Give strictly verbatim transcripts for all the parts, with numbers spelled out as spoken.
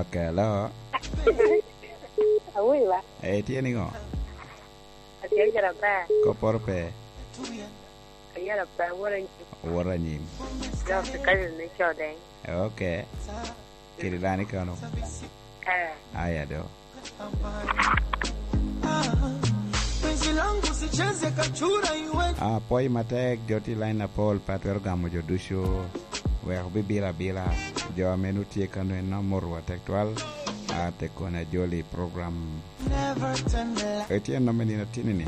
Ok, hello. Awobi ba? Eh, itye niŋo? Atye gire aber. Kopporo pe? Ayela pe, awot anyim. Awot anyim. Dok i kazi ni code. Ok. Kiri lani kano? Eh. Aya do. Ah, pwoyo matek, jo tye i lain apol, pe atwero gamo jo ducu. Wek obibilo abila. Jo ame nwoŋo tye kano en omoto atek twal. Ah, tekoni ajoli program. Etye nom me nino atini-ni.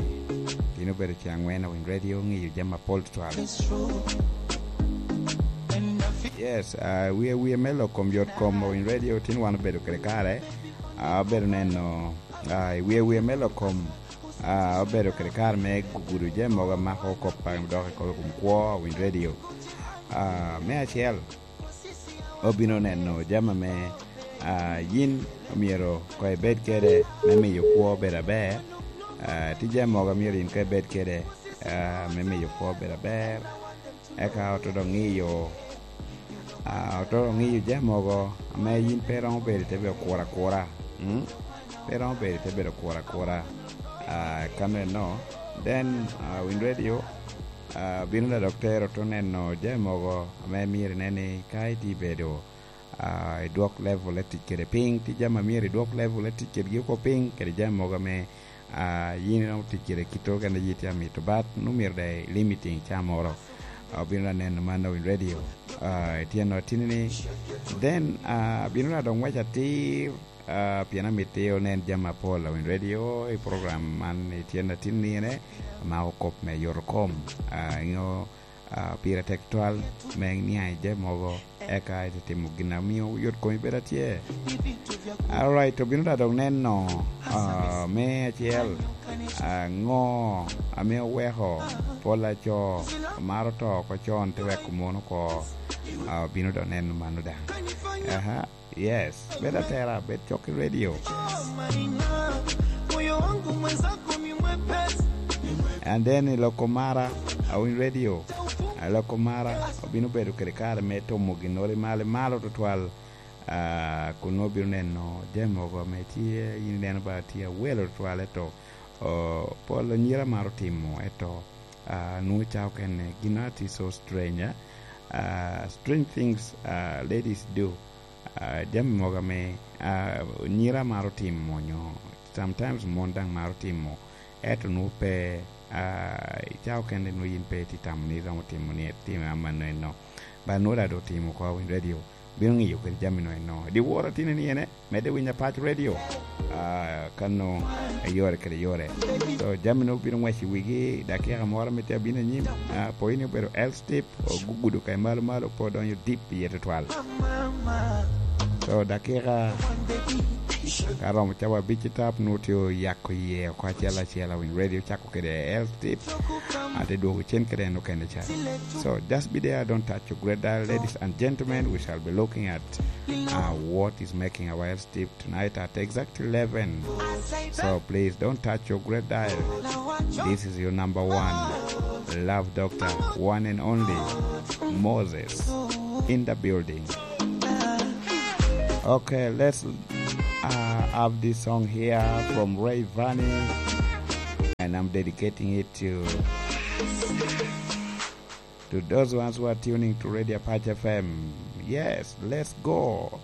Gin obedo ce angwen a Winy Radio, ŋiyo jami apol tutwal. Yes, ah, wie wie me lok kom yot kom a Winy Radio, tin wan obedo kede kare. Ah, obedo neno, ah, i wie wie me lok kom, ah, obedo kede kare me gugudo jami mogo amako kop a dok i kom kwo a Winy Radio. Ah, me acel, obino neno jami ame, ah, yin omyero koŋ ibed kede me miyo kwo bedo aber. Ah, tye jami mogo a myero yin koŋ ibed kede, ah, me miyo kwo bedo aber. Eka oto dok ŋiyo, ah, oto dok ŋiyo jami mogo ame yin pe romo bedo i te bedo kuro akura. Mm? Pe romo bedo i te bedo kuro akura. Ah, ka meno, then, ah, Winy Radio, ah, bino da dok tero to neno jami mogo ame myero inen ni ka itye bedo, ah, idwok level e tic kede piny, tye jami a myero idwok level e tic kedgi oko piny, kede jami mogo ame, ah, yin iromo tic kede kite okene a yi tye amito, but nwoŋo myero da i limiting ca moro. Ah, obino da neno man a Winy Radio. Ah, itye no atini-ni. Then, ah, bino da dok ngwec atir, ah, pien amito onen jami apol a Winy Radio i program man. Itye no atini-ni ene, amako kop me yoto kom. Ah, ingo, ah, pire tek twal me niaŋ i jami mogo, eka ite timo gin a mio yot komi bedo atye. Alright, obino da dok neno, ah, me acel, ah, ŋo ame oweko pol a co maro to oko con, te weko mon oko, ah, obino dok neno mano daŋ. Aha. Yes, bed atera, bed cok i radio. And then i loko mara, a Winy Radio, a loko mara, obino bedo kede kare me tomo ginnoro i malo, i malo tutwal. Ah, kun nwoŋo obino neno jami mogo ame tye, yin ineno ba tye awelo tutwal, eto, oh, pol anyira maro timo, eto, ah, nwoŋo ca okene, gin a tye so strange, eh? Ah, strange things, ah, ladies do. Ah, jami mogo ame, ah, nyira maro timo, onyo sometimes mon daŋ maro timo, eto nwoŋo pe, ah, i cawa okene nwoŋo yin pe itye tamo ni iromo timo ni itime amanno eno. But nwoŋo daŋ doŋ otimo oko a Winy Radio, bino ŋiyo kede jami no eno. Diwor atini ni ene, medde winyo Apac Radio. Ah, kano i yore kede yore. So, jami no bino ngwec i wigi, dakika moro me tye abino anyim. Ah, po in obedo L step, ogugudo ka i malo malo, po odonyo deep iye tutwal. So, dakika ka romo cawa abic i tap, nwoŋo tye oyako iye oko acel acel, a Winy Radio cako kede L step. Ate dwogo cen kede en okene ca. So, just be there, don't touch your great dial. Ladies and gentlemen, we shall be looking at, uh, what is making our L step tonight at exactly eleven. So please don't touch your great dial. This is your number one love doctor, one and only Moses in the building. Okay, let's, uh, have this song here from Ray Vanny, and I'm dedicating it to, to those ones who are tuning to Radio Apache F M. Yes, let's go.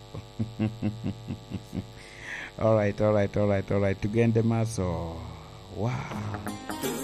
All right, all right, all right, all right. Tugende Maso. Wow.